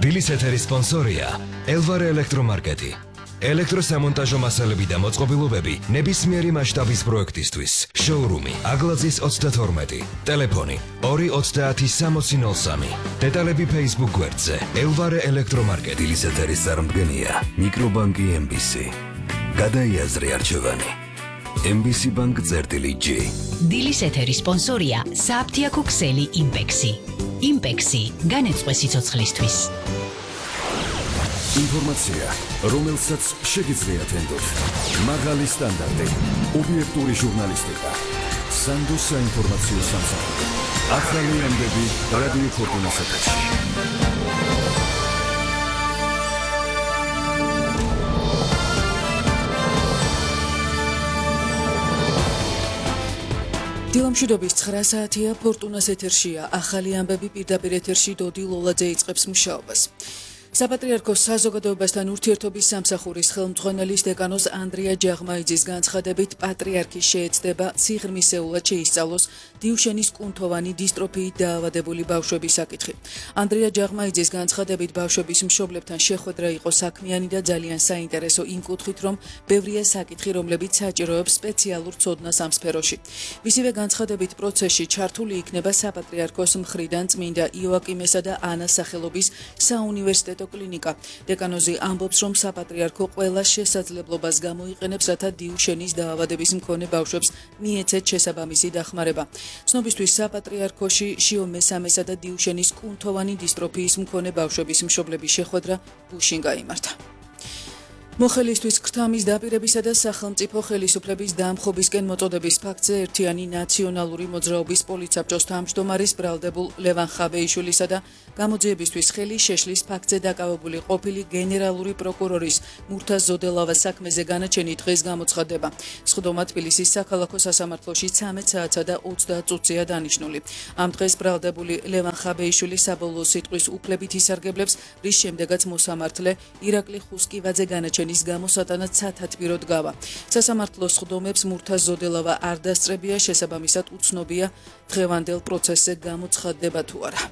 დილის ეთერის სპონსორია ელვარე ელექტრომარკეტი. ელექტროსამონტაჟო მასალები და მოწყობილობები ნებისმიერი მასშტაბის პროექტისთვის. შოურუმი აგლაძის 32. ტელეფონი 2306003. დეტალები Facebook გვერდზე. ელვარე ელექტრომარკეტი. დილის ეთერის წარმომადგენია მიკრობანკი MBC. გადაიაზრე არჩევანი. MBC Bank წერტილი-G. დილის ეთერის სპონსორია საფთიაქო ქსელი იმპექსი. იმპექსი განეწყვე სიცოცხლისთვის. ინფორმაცია, რომელსაც შეგიძლიათ ენდოთ. მაღალი სტანდარტი, ობიექტური ჟურნალისტიკა. სანდო საინფორმაციო სამსახური. ახალი ამბები რადიო ფორტუნას ეთერში. დილამშვიდობის 9 საათია ფორტუნას ეთერშია. ახალი ამბები პირდაპირ ეთერში დოდი ლოლაძე იწყებს მუშაობას. საპატრიარქოს საზოგადოებასთან ურთიერთობის სამსახურის ხელმძღვანელის დეკანოს ანდრია ჯაღმაიძის განცხადებით პატრიარქი შეეცდება სიღრმისეულად შეისწავლოს დიუშენის კუნთოვანი დისტროფიით დაავადებული ბავშვების საკითხი. ანდრია ჯაღმაიძის განცხადებით ბავშვების მშობლებთან შეხვედრა იყო საქმიანი და ძალიან საინტერესო იმ კუთხით, რომ ბევრია საკითხი, რომლებიც საჭიროებს სპეციალურ ცოდნას ამ სფეროში. მისივე განცხადებით პროცესში ჩართული იქნება საპატრიარქოს მხრიდან წმინდა იოაკიმესა და ანას სახელობის საუნივერსიტეტო კლინიკა. დეკანოზი ამბობს, რომ საპატრიარქო ყველა შესაძლებლობას გამოიყენებს, რათა დიუშენის დაავადების მქონე ბავშვებს მიეცეთ შესაბამისი დახმარება. ცნობისთვის საპატრიარქოში შიო მესამესა და დიუშენის კუნთოვანი დისტროფიის მქონე ბავშვების მშობლების შეხვედრა გუშინ გაიმართა. მოხელისთვის ქრთამის დაპირებისა და სახელმწიფო ხელისუფლების დამხობისკენ მოწოდების ფაქტზე ერთიანი ნაციონალური მოძრაობის პოლიცაბჭოს თავმჯდომარის ბრალდებულ ლევან ხაბეიშვილისა და გამოძიებისთვის ხელი შეშლის ფაქტზე დაკავებული ყოფილი გენერალური პროკურორის მურთაზ ზოდელავას საქმეზე განაჩენი დღეს გამოცხადდება. სხდომა თბილისის საქალაქო სასამართლოში 13 საათსა და 30 წუთზეა დანიშნული. ამ დღეს ბრალდებული ლევან ხაბეიშვილი საბოლოო სიტყვის უფლებით ისარგებლებს, რის შემდეგაც მოსამართლე ირაკლი ხუსკივაძე განაჩენის გამოსატანად სათათბიროდ გავა. სასამართლოს სხდომებს მურთაზ ზოდელავა არ დასწრებია, შესაბამისად უცნობია დღევანდელ პროცესზე გამოცხადდება თუ არა.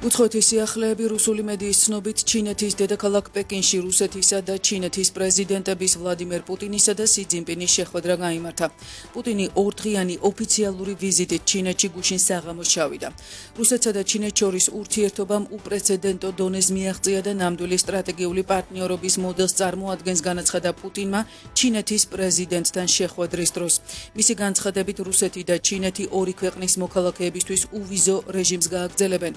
უცხოეთის სიახლეები რუსული მედიის ცნობით ჩინეთის დედაქალაქ პეკინში რუსეთისა და ჩინეთის პრეზიდენტების ვლადიმერ პუტინისა და სი ძინპინის შეხვედრა გაიმართა. პუტინი ორდღიანი ოფიციალური ვიზიტით ჩინეთში გუშინ საღამოს ჩავიდა. რუსეთსა და ჩინეთს შორის ურთიერთობამ უპრეცედენტო დონეს მიაღწია და ნამდვილი სტრატეგიული პარტნიორობის მოდელს წარმოადგენს, განაცხადა პუტინმა ჩინეთის პრეზიდენტთან შეხვედრის დროს. მისი განცხადებით რუსეთი და ჩინეთი ორი ქვეყნის მოქალაქეებისთვის უვიზო რეჟიმს გააგრძელებენ.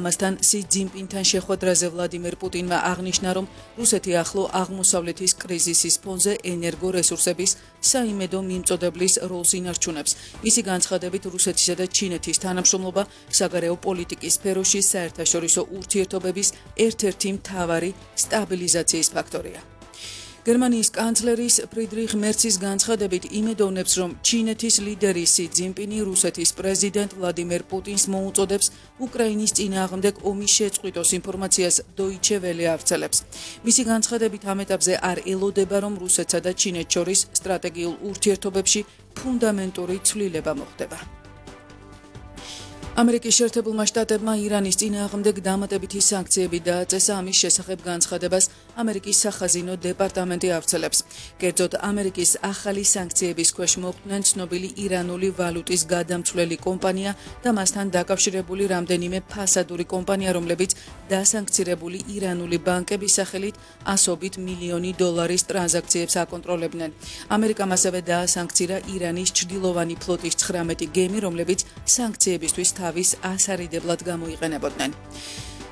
ამასთან სი ძინპინთან შეხვედრაზე ვლადიმერ პუტინმა აღნიშნა, რომ რუსეთი ახლო აღმოსავლეთის კრიზისის ფონზე ენერგორესურსების საიმედო მიმწოდებლის როლს ინარჩუნებს. მისი განცხადებით რუსეთისა და ჩინეთის თანამშრომლობა საგარეო პოლიტიკის სფეროში საერთაშორისო ურთიერთობების ერთ-ერთი მთავარი სტაბილიზაციის ფაქტორია. გერმანიის კანცლერის ფრიდრიხ მერცის განცხადებით იმედოვნებს, რომ ჩინეთის ლიდერი სი ძინპინი რუსეთის პრეზიდენტ ვლადიმერ პუტინს მოუწოდებს უკრაინის წინააღმდეგ ომის შეწყვიტოს ინფორმაციას დოიჩე ველე ავრცელებს. მისი განცხადებით ამ ეტაპზე არ ელოდება, რომ რუსეთსა და ჩინეთს შორის სტრატეგიულ ურთიერთობებში ფუნდამენტური ცვლილება მოხდება. ამერიკის შეერთებულმა შტატებმა ირანის წინააღმდეგ დამატებითი სანქციები დააწესა. ამის შესახებ განცხადებას ამერიკის სახაზინო დეპარტამენტი ავრცელებს. კერძოდ, ამერიკის ახალი სანქციების ქვეშ მოხვდნენ ცნობილი ირანული ვალუტის გადამცვლელი კომპანია და მასთან დაკავშირებული რამდენიმე ფასადური კომპანია, რომლებიც დასანქცირებული ირანული ბანკების სახელით ასობით მილიონი დოლარის ტრანზაქციებს აკონტროლებდნენ. ამერიკამ ასევე დაასანქცირა ირანის ჩრდილოვანი ფლოტის 19 გემი, რომლებიც სანქციებისთვის თავის ასარიდებლად გამოიყენებოდნენ.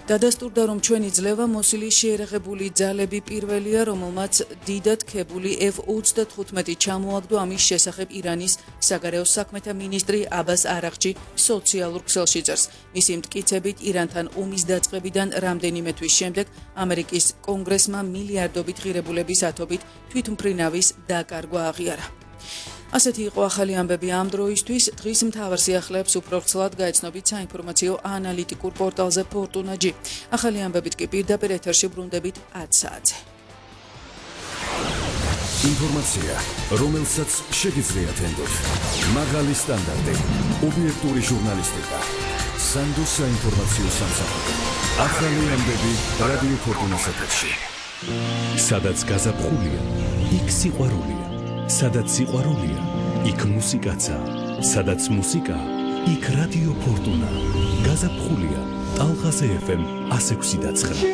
დადასტურდა, რომ ჩვენი ძლევა მოსილი შეერაღებული ძალები პირველია, რომელმაც დიდად ქებული F-35 ჩამოაგდო. ამის შესახებ ირანის საგარეო საქმეთა მინისტრი აბას არაღჩი სოციალურ ქსელში წერს. მისი მტკიცებით, ირანთან ომის დაწყებიდან რამდენიმე თვის შემდეგ ამერიკის კონგრესმა მილიარდობით ღირებულების ათობით თვითმფრინავის დაკარგვა აღიარა. ასეთი იყო ახალი ამბები ამ დროისთვის. დღის მთავარ სიახლეებს უფრო ვრცლად გაეცნობით საინფორმაციო ანალიტიკურ პორტალზე Fortuna.G. ახალი ამბებით კი პირდაპირ ეთერში ბრუნდებით 10 საათზე. ინფორმაცია, რომელსაც შეგიძლიათ ენდოთ. მაღალი სტანდარტი, ობიექტური ჟურნალისტიკა. სანდოს საინფორმაციო სამსახური. ახალი ამბები რადიო ფორტუნას ეთერში. სადაც გაზაფხულია, იქ სიყვარულია. სადაც სიყვარულია, იქ მუსიკაცაა. სადაც მუსიკა, იქ რადიო ფორტუნა. გაზაფხულია, ტალღაზე FM 106.9.